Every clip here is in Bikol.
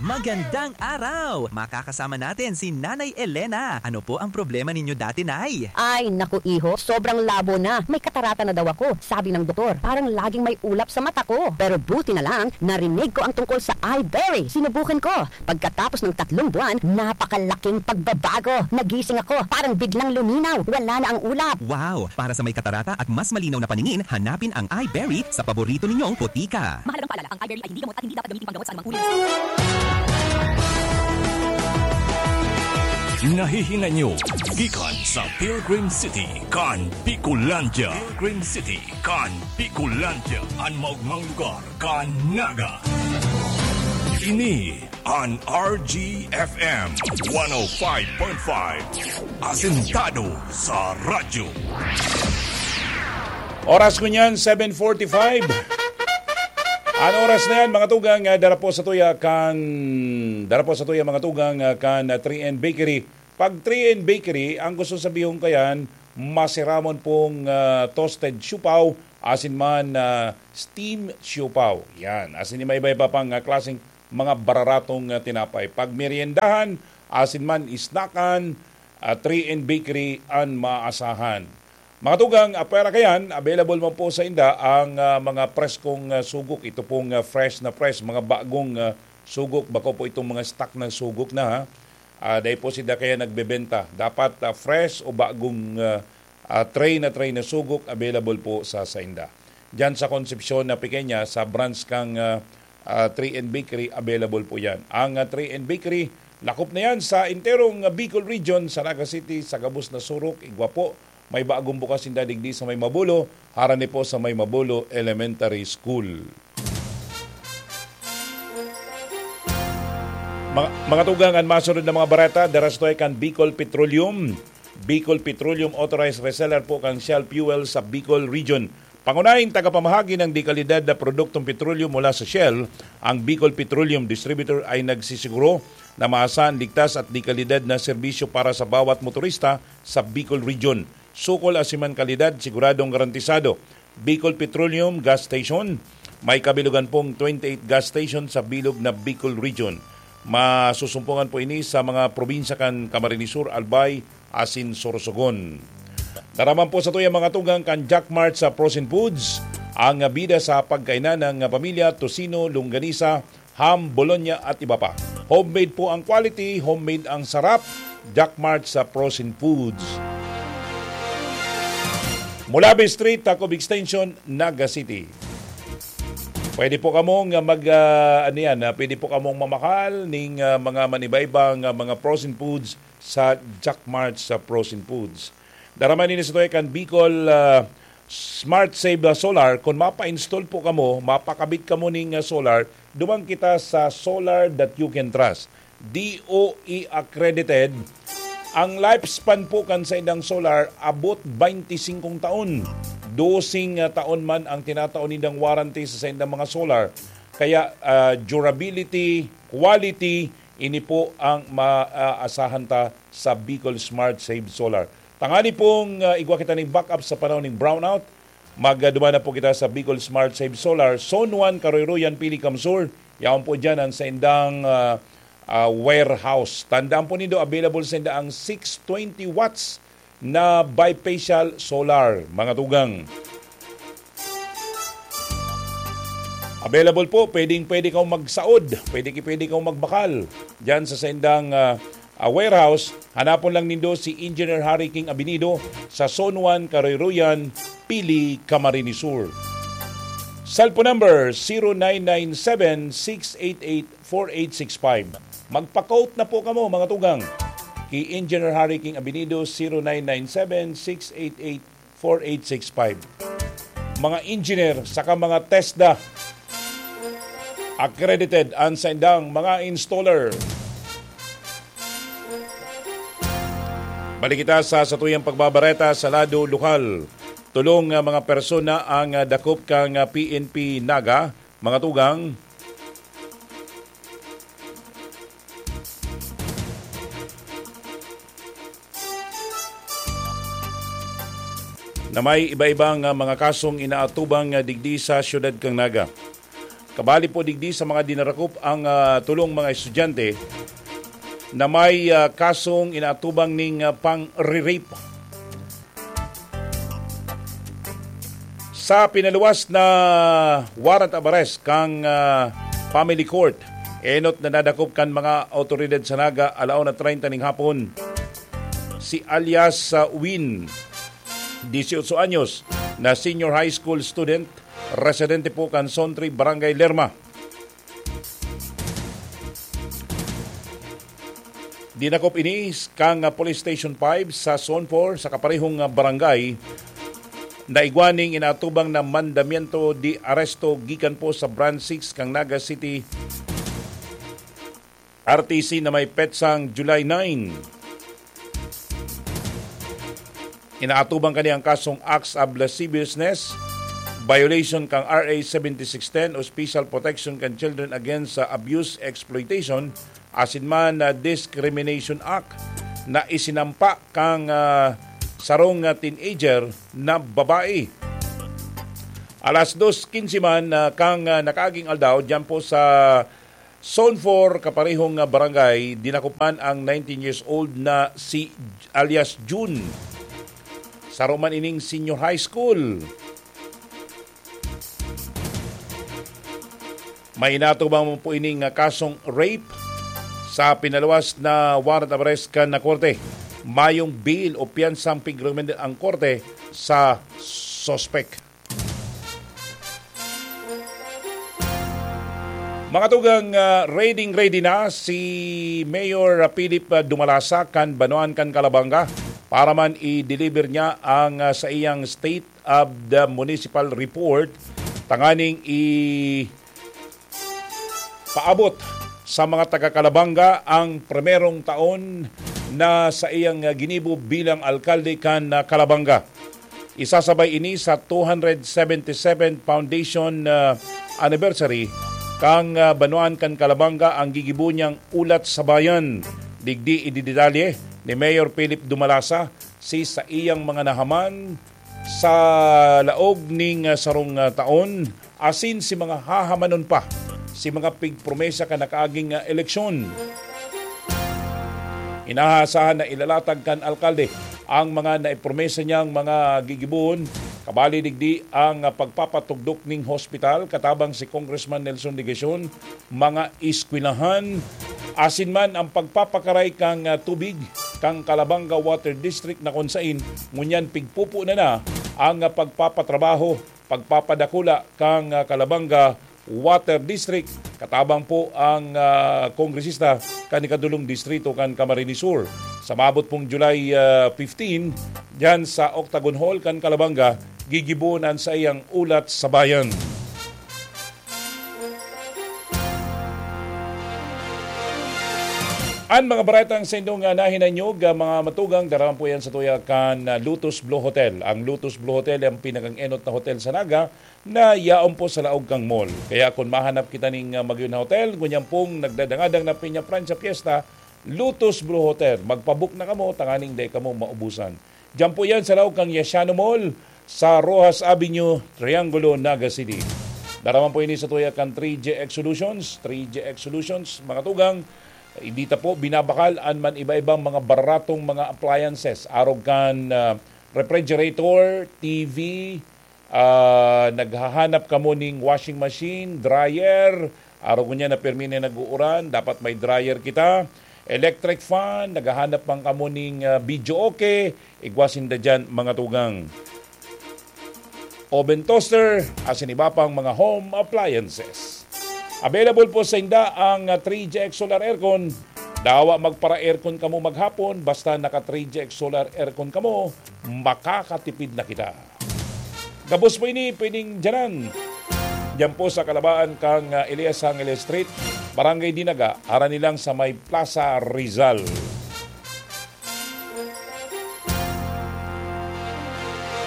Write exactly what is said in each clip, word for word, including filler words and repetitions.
Magandang araw! Makakasama natin si Nanay Elena. Ano po ang problema ninyo dati, Nay? Ay, naku, iho, sobrang labo na. May katarata na daw ako, sabi ng doktor. Parang laging may ulap sa mata ko. Pero buti na lang, narinig ko ang tungkol sa Iberry. Sinubukan ko. Pagkatapos ng tatlong buwan, napakalaking pagbabago. Nagising ako, parang biglang luminaw. Wala na ang ulap. Wow! Para sa may katarata at mas malinaw na paningin, hanapin ang Iberry sa paborito ninyong botika. Mahalagang paalala, ang Iberry ay hindi gamot at hindi dapat gamitin panggamot sa anumang uri ng sakit. Nahihinga nyo gikan sa Pilgrim City kan Bicolandia. Pilgrim City kan Bicolandia, an maogmang lugar kan Naga. Ini an R G F M one oh five point five, asentado sa radyo. Oras ko niyan, seven forty-five. An oras na yan, mga tugang, ah, dara po sa tuya kan, dara po sa tuya, mga tugang, ah, kan, ah, three N Bakery. Pag three N Bakery, ang gusto sabihon kayan, masiramon pong, ah, toasted siopao, asin man, ah, steam siopao. Yan, asin may iba-iba pang, ah, klaseng mga bararatong, ah, tinapay. Pag meriendahan, asin man, snackan, ah, three N Bakery an maasahan. Mga tugang, ah, pwera kayan, available man po sa inda ang, ah, mga preskong, ah, sugok. Ito pong, ah, fresh na fresh, mga bagong, ah, sugok. Bako po itong mga stock na sugok na, ha. Ah, dahil po sila kaya nagbebenta. Dapat, ah, fresh o bagong, ah, ah, tray na tray na sugok available po sa sainda. Diyan sa Concepcion na Pequeña, sa branch kang, ah, ah, three N Bakery, available po yan. Ang, ah, three N Bakery, lakop na yan sa enterong, ah, Bicol Region, sa Naga City, sa gabos na surok, igwa po. May bagong bukas sinda digdi sa may Mabulo, harani po sa may Mabulo Elementary School. Mga, mga tugang, an masunod na mga bareta, dara sa tuya kan Bicol Petroleum. Bicol Petroleum, authorized reseller po kan Shell Fuel sa Bicol Region. Pangunahing tagapamahagi ng dekalidad na produktong petrolyo mula sa Shell, ang Bicol Petroleum Distributor ay nagsisiguro na maasahan, ligtas at dekalidad na serbisyo para sa bawat motorista sa Bicol Region. Sukol asin man kalidad, siguradong garantisado. Bicol Petroleum Gas Station. May kabilugan pong twenty-eight gas station sa bilog na Bicol Region. Masusumpungan po ini sa mga probinsya kan Camarines Sur, Albay, asin Sorsogon. Dara man po sa tuya, mga tugang, kan Jack Mart sa Frozen Foods. Ang bida sa pagkainan ng pamilya, tocino, longganisa, ham, bologna at iba pa. Homemade po ang quality, homemade ang sarap. Jack Mart sa Frozen Foods. Mulabi Street, Tacob Extension, Naga City. Pwede po kamong mag, ah, ano yan, ah, pwede po kamong mamakal ning, ah, mga manibaybang, ah, mga frozen foods sa Jack Mart sa Frozen Foods. Dara man ini sa tuya kan Bicol, ah, Smart Save, ah, Solar. Kung mapa-install po kamo, mapakabit kamo ning, ah, solar, duman kita sa Solar That You Can Trust. D O E accredited. Ang lifespan po kan saindang solar abot twenty-five taon. Dosing, ah, taon man ang tinatao nindang warranty sa saindang mga solar. Kaya, ah, durability, quality, ini po ang maaasahan ta sa Bicol Smart Save Solar. Tangani pong, ah, igwa kita ning backup sa panahon ning brownout. Magduman na po kita sa Bicol Smart Save Solar, Zone one, Karoyroyan, Pili, Camsur. Yaon po dyan ang saindang, ah, ah, warehouse. Tandaan po nindo, available sa inda ang six twenty watts na bifacial solar, mga tugang. Available po, pwedeng pwede kang magsaod, pwede ki pwede kang magbakal. Diyan sa saindang, ah, ah, warehouse, hanapon lang nindo si Engineer Harry King Abinido sa Zone one, Karoyroyan, Pili, Camarines Sur. Cellphone number, zero nine nine seven, six eight eight, four eight six five. Magpa-quote na po kamo, mga tugang. Ki Engineer Harry King Abinido, zero nine nine seven, six eight eight, four eight six five. Mga engineer saka mga TESDA accredited an saindang mga installer. Balik kita sa satuyang pagbabareta sa lado lokal. Tolong, ah, mga persona ang, ah, dakop kan, ah, P N P Naga, mga tugang, na may iba-ibang, ah, mga kasong inaatubang, ah, digdi sa siyudad kan Naga. Kabali po digdi sa mga dinarakop ang, ah, tulong mga estudyante na may, ah, kasong inaatubang ning, ah, pang-re-rape. Sa pinaluwas na warrant of arrest kan, ah, Family Court, enot na nadakop kan mga awtoridad sa Naga alauna treinta ning hapon. Si alias, ah, Win, dieciocho anyos, na senior high school student, residente po kan Sontre, Barangay Lerma. Dinakop ini kan, ah, Police Station five sa Zone four sa kaparehong, ah, barangay. Naigwa ning inaatubang na mandamiento de aresto gikan po sa Branch six kan Naga City R T C na may petsang July nine. Inaatubang kani ang kasong acts of lasciviousness, violation kan R A seventy-six ten o Special Protection kan Children Against sa Abuse, Exploitation, asin man na Discrimination Act na isinampa kan, ah, sarong, ah, teenager na babae. Alas dos quince man, ah, kan, ah, nakaaging aldaw, diyan po sa Zone four, kaparehong, ah, barangay, dinakupan ang nineteen years old na si alias Jun. Saro man ining senior high school. May inatubang po ining, ah, kasong rape sa pinaluwas na warrant of arrest kan na korte. Mayong bail o piyansang pigrekomenda ang korte sa suspek. Mga tugang, ah, ready-ready na si Mayor Philip, ah, Dumalasa kan Banwaan kan Calabanga para man i-deliver niya ang, ah, sa iyang State of the Municipal Report tanganing i-, paabot sa mga taga Calabanga ang primerong taon na sa iyang, ah, ginibo bilang alkalde kan, ah, Calabanga. Isasabay ini sa two hundred seventy-seven foundation, ah, anniversary kan, ah, Banwaan kan Calabanga ang gigibo niyang Ulat sa Bayan. Digdi ididetalye ni Mayor Philip Dumalasa si saiyang mga nahaman sa laog ning, ah, sarong, ah, taon, asin si mga hahamanon pa, si mga pigpromesa kan nakaaging, ah, eleksyon. Inaasahan na ilalatag kan alkalde ang mga naipromesa niyang mga gigibohon, kabali digdi ang, ah, pagpapatugdok ning hospital katabang si Congressman Nelson Legacion, mga eskwelahan, asin man ang pagpapakaray kan, ah, tubig kan Calabanga Water District na kun sain ngunyan pigpupo na na ang, ah, pagpapatrabaho, pagpapadakula kan, ah, Calabanga Water District. Katabang po ang, ah, kongresista kan ikadulong distrito kan Camarines Sur. Sa maabot pong July, ah, fifteen, diyan sa Octagon Hall kan Calabanga, gigibohon an saiyang Ulat sa Bayan. An mga baretang sa indong, ah, nahinanyog, ah, mga matugang, daraman po yan sa tuya kan, ah, Lotus Blue Hotel. Ang Lotus Blue Hotel ay ang pinakang-enot na hotel sa Naga na yaon po sa laog kang mall. Kaya kung mahanap kita ning, ah, magyo na hotel, ngunyan pong nagdadangadang na Peña Francia Fiesta, Lotus Blue Hotel. Magpabook na kamo, tanganing dai kamo maubusan. Diyan po yan sa laog kang Yasiano Mall, sa Roxas Avenue, Triangulo, Naga City. Daraman po ini sa tuya kan three G X Solutions. Three G X Solutions, mga tugang, hindi ta po binabakal an man iba-ibang mga baratong mga appliances. Arog kan, ah, refrigerator, T V, ah, naghahanap kamo ning washing machine, dryer, arog niya na pirmi na nag-uuran, dapat may dryer kita. Electric fan, naghahanap man kamo ning, ah, video okay, igwa sinda dyan, mga tugang. Oven toaster, asin iba pang mga home appliances. Available po sa inda ang, ah, three G X Solar Aircon. Dawa magpara-aircon kamo maghapon, basta naka three G X Solar Aircon kamo, makakatipid na kita. Gabos po ini, pwedeng dyanan. Diyan po sa kalabaan kang, ah, Elias Angeles Street, Barangay Dinaga, harani lang sa may Plaza Rizal.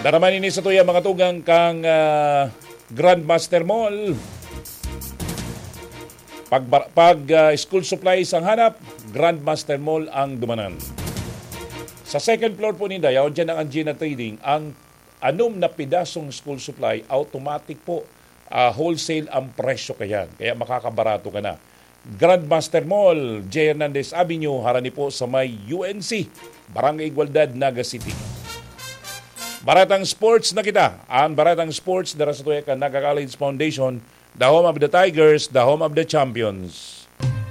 Daraman ini sa tuya, mga tugang, kang, ah, Grandmaster Mall. Pag, pag, ah, school supplies ang hanap, Grandmaster Mall ang dumanan. Sa second floor po ni Dayaw, dyan ang Angina Trading, ang anom na pidasong school supply, automatic po Ah, wholesale ang presyo kayan, kaya makakabarato ka na. Grandmaster Mall, J. Hernandez Avenue, harani po sa may U N C, Barangay Igualdad, Naga City. Baratang Sports na kita. Ang Baratang Sports dara sa tuya kan Naga College Foundation, the home of the Tigers, the home of the champions.